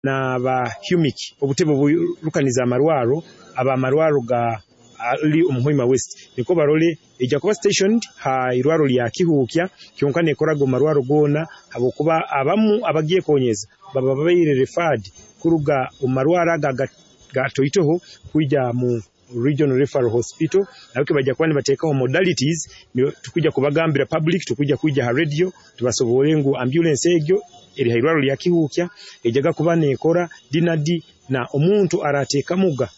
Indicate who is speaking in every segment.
Speaker 1: N'aba humic, obutebe oburukaniza amarwaro, abamarwaro ga ali omu Hoima West, nikwo barole ejja kuba stationed ha irwaro lya Kihuukya, kyonka nekoraga omu marwaro goona, habwokuba abamu abagyekonyeza baba babaire referred kuruga omu marwaro aga gatoitoho kwija mu Regional Referral Hospital. Nabwo bajja kuba nibateekaho modalities, tukujja kubagambira public, tukujja kwija ha radio tubasobole ngu ambulance egyo eri ha irwaro lya Kihuukya ejjaga kuba nekora dinadi, na omuntu arateekamuga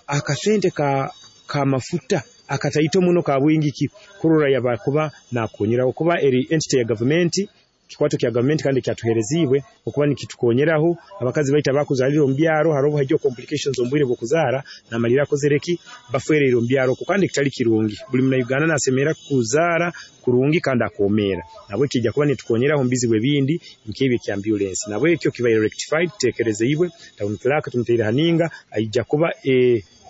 Speaker 1: akasente ka mafuta akataito muno ka bwingiki kurora yaba kuba nakonyeraho, kuba eri entity ya gavumenti, kikwato kya gavumenti kandi kyatuhereziibwe okuba nikitukonyeraho abakazi baitu abakuzaalira omu byaro. Hariho haijaho complications omu bwire bw'okuzaara, namalira akozere ki, bafwereire omu byaro okwo, kandi kitali kirungi. Buli Munauganda nasemerera kuzaara kurungi kandi akomeera. Nabwekyo ijja kuba netukonyeraho omu bizibu ebindi nk'ebyo ekya ambulance. Nabwekyo kibaire rectified, kitekerezeibwe. Town clerk tumuteire haninga, aija kuba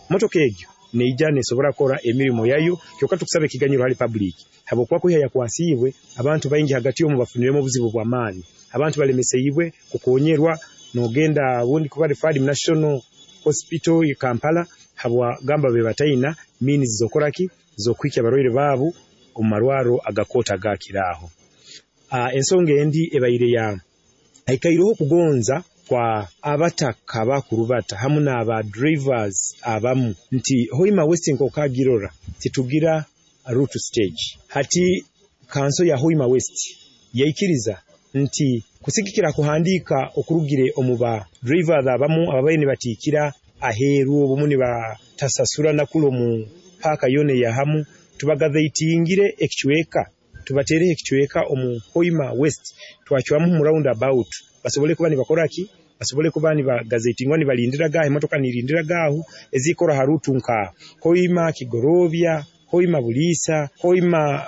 Speaker 1: motoka egyo neija nesobora kukora emirimo yayo. Kyokka tukusaba ekiganyiro hali public, habwokuba kwiha yakwasiibwe abantu baingi hagati omu bafuniremu obuzibu bw'amaani, abantu balemeseibwe kukonyerwa, nogenda obundi kuba referred mu National Hospital i Kampala, habwa gamba be bataina means zokoraki zokuhikya abarwaire baabu omu marwaro agakoota agakiraaho. Ensonga endi ebaire ya haikaireho okugonza kwa abataka abakurubata hamu n'aba drivers abamu nti Hoima West nk'okagirora titugira route stage. Hati kanso ya Hoima West yaikiriza nti kusigikira kuhandiika okurugire omu ba drivers abamu ababaire nibatiikira aheeru, obumu nibatasasura nakulu omu paaka yoona eyahamu, tubagazaitingire ekicweka, tubateereho ekicweka omu Hoima West, twacwamu mu round about, basobole kuba nibakora ki, basobole kuba nibagazaitingwa, nibalindiraga aho, emotoka nirindiraga aho ezikora ha rutu nka Hoima Kigorobya, Hoima Buliisa, Hoima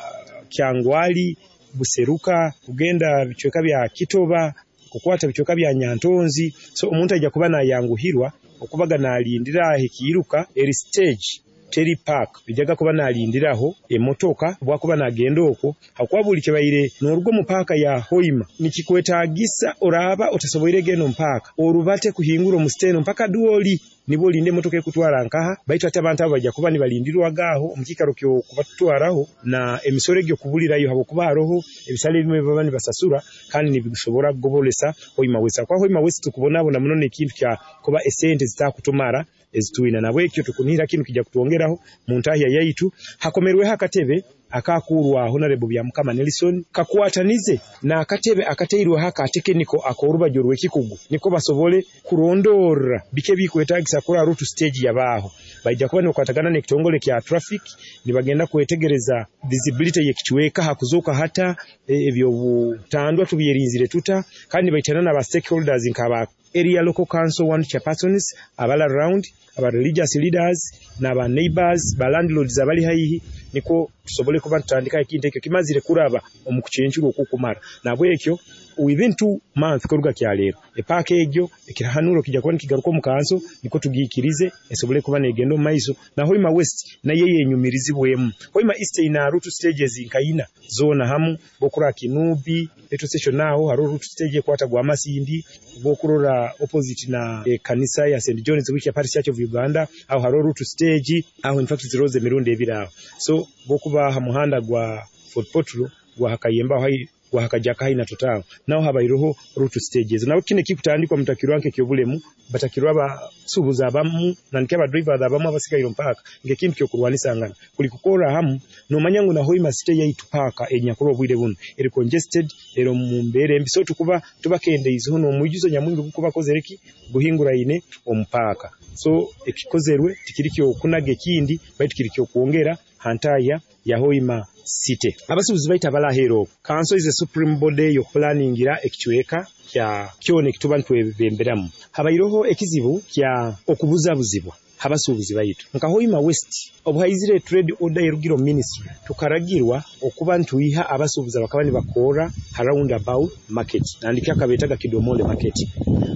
Speaker 1: Kyangwali, Buseruka, kugenda bicweka bya Kitoba, kukwata bicweka bya Nyantonzi. So omuntu aija kuba nayanguhirwa okubaga nalindira aho ekiiruka eri stage teri park, ejaga kuba nalindiraho emotoka bwakuba nagenda okwo, hakuba buli kibaire noruga omu paaka ya Hoima nikikwetagisa oraba otasoboire genda omu paaka orubate kuhingura omu steno mpaka Dwoli, nibwo olinde emotoka ekutwara nkaha. Baitu ati abantu abo bajja kuba nibalindirwaga aho omu kiikaro ky'okubatwaraho na emisoro egyo kubulirayo, habwokuba haroho ebisale ebimwe baba nibasasura kandi nibisobora kugobolesa Hoima West. Habwokuba Hoima West tukubonabona muno n'ekintu kya kuba esente zitakutumara ezitwina, nabwekyo tukunihira kinu kijja kutwongeraho mu ntahya yaitu. Hakomerweho akatebe akakurwa Honorable Byamukama Nelson, kakwatanize n'akatebe akateirweho aka tekiniko ak'orubaju rw'ekikugu, niko basobole kurondorra biki ebikwetagisa kurora route stage yabaaho. Baija kuba nibakwatagana n'ekitongole kya traffic, nibagenda kwetegereza visibility y'ekicweka hakuzoka hata, ebyobutandwa tubyerinzire tuta, kandi nibaitana n'aba stakeholders nk'aba area local council one chairpersons abali around, aba religious leaders n'aba neighbors, ba landlords abali haihi, nikwo tusobole kuba tutandika ekintu ekyo kimazire kuraba omu kucencurwa okukumara. Nabwekyo within 2 months kuruga kyaleero epaaka egyo ekirahanuro kijja kuba nikigaruka omu kanso, nikwo tugiikirize esobole kuba negenda omu maiso. Na Hoima West nayo yenyumirizibwemu. Hoima East ina route stages nkaina zoona hamu, bokurora Kinubi petrol station aho hariho route stage ekwata gwa Masindi, bokurora opposite na ekanisa ya St John's Wikia Parish Church of Uganda, aho hariho route stage aho, in fact ziroze emirundi ebiri aho. So bokuba ha muhanda gwa Fort Portal gwa Hakayemba aho gwa Hakajaka hai na Total, naho habaireho route stages. Nabo kino ekikutandikwa mutakirwa nk'ekyobulemu, batakirwa abasuubuzi abamu nandiki aba drivers abamu abasigaire omu paaka nk'ekintu ky'okurwanisangana, kuli kukorra hamu. Nomanya ngu na Hoima City yaitu paaka enyakurwa obwire buno eri congested, eri omu mbeera embi, so tukuba tubakendeizeho n'omwijuzo nyamwingi gukubakozere ki guhinguraine omu paaka. So ekikozerwe tikiri kyokunaga ekindi, baitu kiri kyokwongera ha ntahya ya Hoima City. Abasuubuzi baitu abalaheera okwo, kanso is a supreme body y'okupulaningira ekicweka kya kyona ekituba nitwebemberamu. Habaireho ekizibu kya okubuzabuzibwa habasuubuzi baitu nka Hoima West. Obu haizire trade order erugire omu ministry, tukaragirwa okuba ntwiha abasuubuzi abakaba nibakorra ha roundabout market, nandiki akabetaga Kidomole market.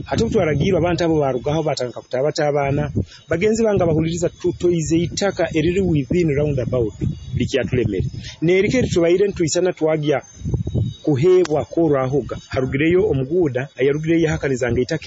Speaker 1: Hati obu twaragirwe, abantu abo barugaho batandika kutaabataabana. Bagenzi bange abahuliriza, tutoize itaka eriri within roundabout likyatulemere, neriko eritubaire ntwisana twagya. Kuheebwa korwahoga harugireyo omuguuda ayarugireyo yahakaniza ngu eitaka.